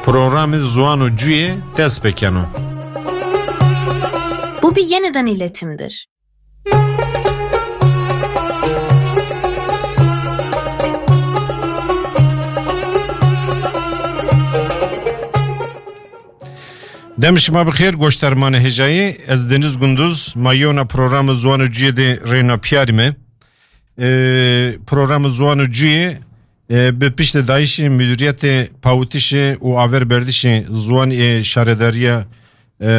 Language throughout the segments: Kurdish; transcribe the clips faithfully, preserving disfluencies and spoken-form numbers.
Programê Ziwan û Cuyê dest pê keno. Bu bir yeniden iletimdir. Dem şima bi xêr, goşdarmanê hêjayî. Ez Deniz Gunduz, ma yewna programa Ziwan û Cuyê de reyna piyarî me. Ee, programa Ziwan û Cuyê, e, bi piştedayîşê Müdûriyetê Pawitişê û Averberdişê Ziwan ê Şaredariya, e, e,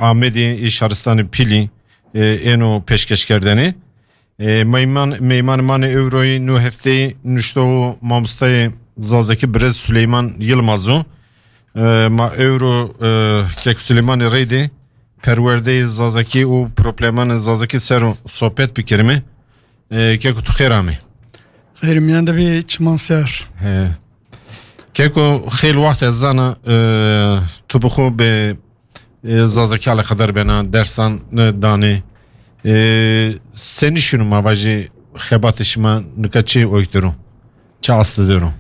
Amedê ê Şaristanê Pîlî, e, êno pêşkeşkerdene. E, meyman, meyman manê ewroyî nû hefteyî nuştoxo mamostayê zazakî birêz Suleyman Yilmaz o. E, ma ewro, e, kek Suleymanê Reydê perwerdeyê zazakî û problemanê zazakî ser o sohbet bikerime. E, keko tu xêr amê. Xêr miyan de bê çiman ser. He. Keko xêl wext ez zana, e, tu bi xwe bi, e, zazakî eleqedar bena, dersan, e, danê. E, senî şûn ma vajî xebatê şima nika çi oyktiro? Çi asli diro?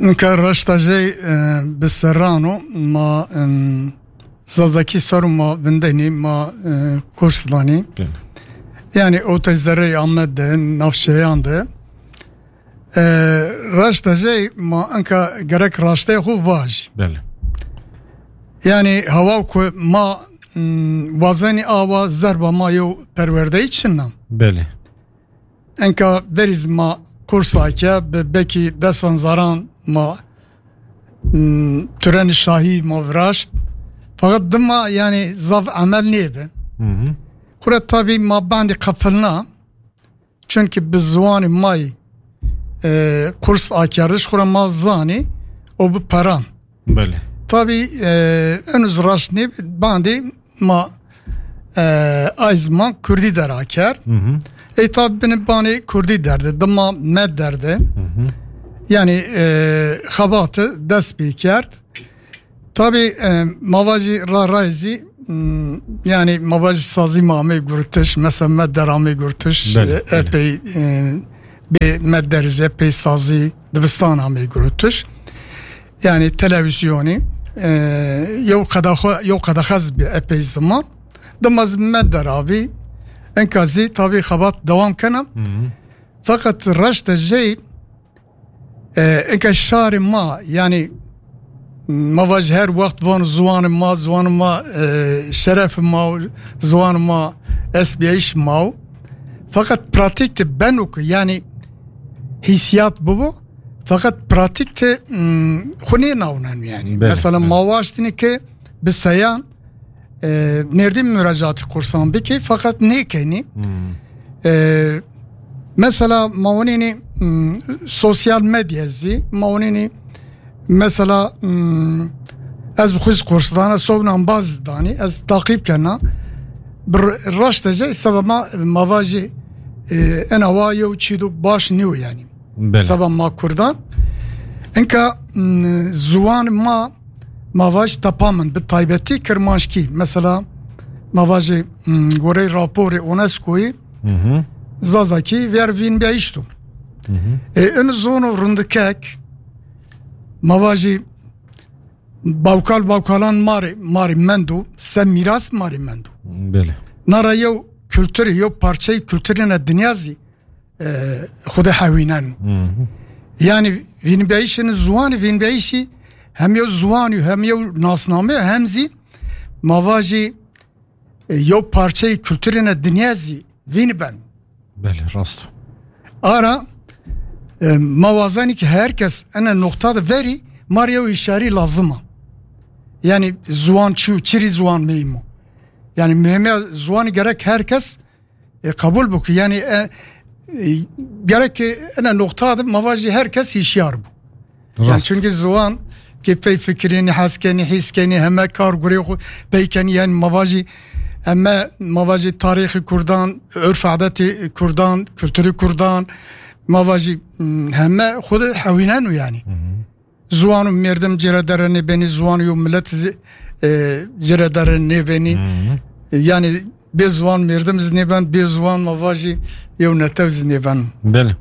Nika raşta jey, e, bi serrano ma, em, zazakî ser û ma vindenî ma, e, kurs danî. Belê. Yani o te zerrey Amed de, navçeyan de. E, raşta jey ma enka gerek raştey xwe vaj. Belê. Yani hawa ku ma, m, wazenî awa zerba ma yew perwerdeyî çinna. Belê. Enka verî zî ma kursa ke bi belkî desan zaran ma, m, Turenî Şahî ma viraşt. Fakat dima yani zaf emel nêbi. Hı hı. Xura tabî ma bandî qefilna. Çünkü bi ziwanî mayî, e, kurs akerdiş xura ma zanî o bi peran. Belê. Tabî, e, eno zî raşt nêbi bandî ma, e, ay ziman kurdî dera kerd. Hı hı. Ey tabî binî banê kurdî derde, dima me derde. Hı hı. Yani, e, xebatî dest pê kerd. Tabî, e, ma vajî ra ray zî, m, yani ma vajî sazî ma amê gurtiş, mesela me der amê gurtiş, Belê, e, belê. epey, e, bê me der zî epey sazî dibistan amê gurtiş. Yani televîzyonî, e, yew qedaxwe, yew qedaxe zî bi epey ziman. Dima zî me der avî, enka zî tabî xebat dewam kena. Hı hı. Fakat reşte jey, e, enka şarê ma, yani ma vaj her wext van ziwanê ma, ziwanê ma, e, şeref ma, ziwanê ma, esbiyayîş ma. Fakat pratik de beno ku, yani hîsiyat bibo, fakat pratik de, m, xwe nê navnen yani. Belê, Mesela belê. ma waştine ki bi seyan, e, Mêrdîn muracaatî kursan bike, fakat nêkenî. Hmm. E, mesela ma winînî, hmm, sosyal medya zî, ma winînî mesela, hmm, ez bi xwe zî kurs dana, sobnan baz danî, ez taqîb kena. Bi r-, raşte jî seba ma, ma vajî, e, ena wa yew çîdo baş nîyo yani. Belê. Seba ma Kurdan. Enka, m, ziwan ma, ma vaj tepa min, bi taybetî kirmanckî. Mesela, ma vajê, m, gorey raporê UNESCOyî, Hı hı. Zazakî ver vîn biyayîşto. Hı hı. E, in zono rindikek, ma vajî bawkal bawkalan marê, marê mendo, se mîras marê mendo. Belê. Nara yew kulturê, yew parçeyê kulturê ne dinya zî e, xwe de hewînen. Hı hı. Yani vînbeyişên ziwanî, vînbeyişî hem yew ziwanî, hem yew nasname, hem zî ma vajî, e, yew parçeyê kulturê ne dinya zî vîn ben. Belê, rast. Ara, e, ma wazanî ki herkes ene noqta de verî mar yew hişyarî lazim a. Yani ziwan çi, çirî ziwan meymo. Yani mühime ziwanî gerek herkes e, qebûl bû ku, yani, e, e, gerek ene noqta de ma vajî herkes hişyar bû. Yani, Rast. Çünkü ziwan ki pey fikirînî, heskenî, hîskenî, heme kar gurê xwe peykenî, yani ma vajî, eme, ma vajî tarîxî Kurdan, örf adetî Kurdan, kulturî Kurdan, ma vajî, m, heme xwe de hewînen û yani. Hı hı. Ziwan û merdim cêre dere nêbenî, ziwan û millet zî, e, cêre dere nêbenî. Hı hı. Yani bê ziwan merdim zî nêben, bê ziwan ma vajî yew netew zî nêben. Belê.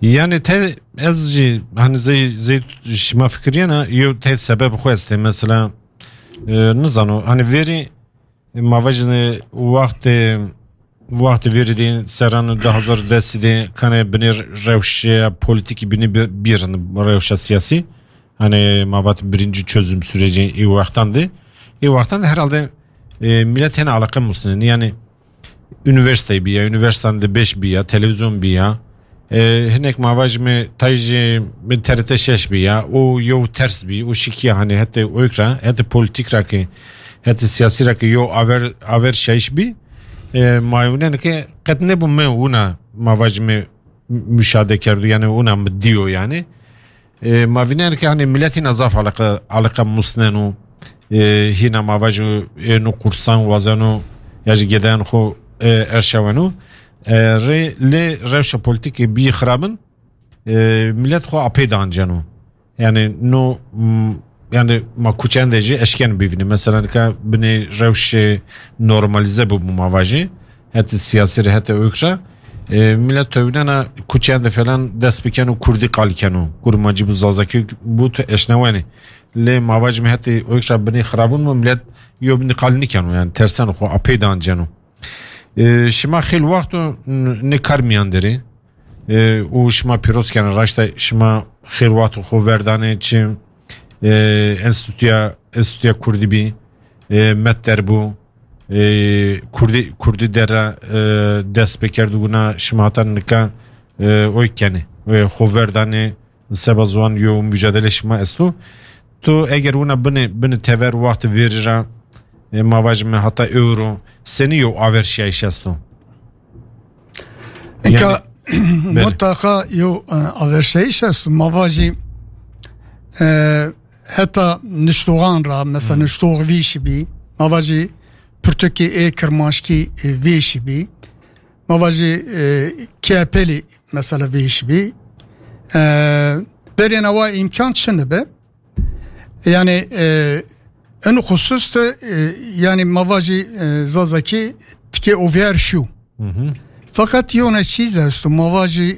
Yani te ez jî hani zey zey şima fikiriyena yo te sebeb xwe este mesela e, nizano hani veri ma vajine wextê wextê veri de seran du hazar dest de kane binê rewşe politiki bini birin rewşe siyasi hani ma vat birinci çözüm süreci i wextan de i wextan de herhalde e, millet hene alaka musne yani üniversite biya, üniversiteden de beş biya, televizyon biya. E, hinek ma vaj me tay ji min T R T şeş biya, o yo ters bi, o şikiya hani hete oyk ra, hete politik ra ki, hete siyasi ra ki yo aver, aver şayiş bi. E, ma yunen ki qet ne bu me una ma vaj me müşahede kerdu, yani una mi diyo yani. E, ma vîner ke hani millet hîna zaf alaka, alaka musneno, e, hîna ma vajo êno qursan wazeno, ya jî gedeyan xo e, erşaweno. E, rê, lê rewşa politikê bî xirabin, e, millet xo apê danceno. Yani no, m, yani ma kuçen de jî eşken bivîne. Mesela nika binê rewşê normalize bu bu ma vajî. Heti siyasi re, heti oyk re. E, millet tewdena kuçeyan de falan dest biken û kurdî qal keno. Kurmancî bû, zazakî bû, tu eşnewenê. Lê ma vajî me heti oyk re binê xirabûn mu millet yo binî qal nikeno. Yani tersen xo apê danceno. E, şima xêl wexto n-, ne kar miyan derê. E, û şima pîroz kene raşta şima xêl wexto xo verdanê çi, e, enstitûya, enstitûya kurdî bî, e, met derbû, e, kurdî, kurdî dera, e, dest pê kerdibûna şima heta nika, e, oy kenê. E, xo verdanê seba ziwan yo mücadele şima esto. Tu eger wina bini, bini tever wexti vêrî ra, e, ma vajime heta euro, senî yo aver şiyayîş esto? Eka Yani, belê. Mutlaka yo, e, aver şiyayîş esto. Ma vajî, e, heta niştoxan ra, mesela Hmm. niştox vîşî bî, ma vajî pirtûkê ê kirmanckî, e, vêşî bî. Ma vajî, e, kepelî mesela vêşî bî. E, berê newa îmkan çi nibe? Yani, e, en xusus de, e, yani ma vajî, e, zazakî tikê ovyer şu. Hı hı. Fakat yone çîz esto, ma vajî